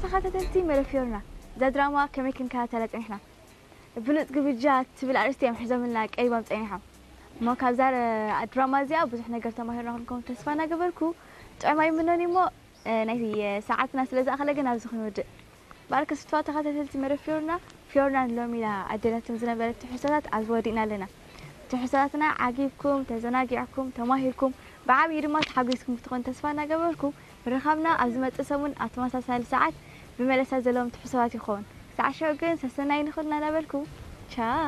ተኸታተልቲ መደብ ፊዮርና፣ እዛ ድራማ ከመይ ክንከታተላ ጸኒሕና? ብሉጽ ግብጃ ትብል ኣርእስቲ እዮም ሒዞምልና ቀሪቦም ጸኒሖም። እሞ ካብዛ ድራማ እዚኣ ብዙሕ ነገር ተማሂርና ክንከውን ተስፋ እናገበርኩ፣ ጥዑም ኣይምኖን እሞ፣ እ፣ ናይ ሰዓትና ስለ ዝኣኸለ ግን ኣብዚ ክንውድእ። ባርክ ስቱዋ ተኸታተልቲ መደብ ፊዮርና፣ ፊዮርና ንሎሚ ኢላ ኣደለትኩም ዝነበረት ትሕዝቶታት ኣብዚ ወዲእና ኣለና። ትሕዝቶታትና ዓጊብኩም፣ ተዘናጊዕኩም፣ ተማሂርኩም፣ ብዓብዪ ድማ ተሓጒስኩም ክትኾኑ ተስፋ እናገበርኩ፣ ምርኻብና ኣብ ዝመጽእ ሰሙን ኣብ ተመሳሳሊ ሰዓት ብመለሳ ዘለዎም ትሕዝቶታት ይኸውን። ክሳዕ ሽዑ ግን ሰሰናይ ንኹልና እናበልኩ፣ ቻው።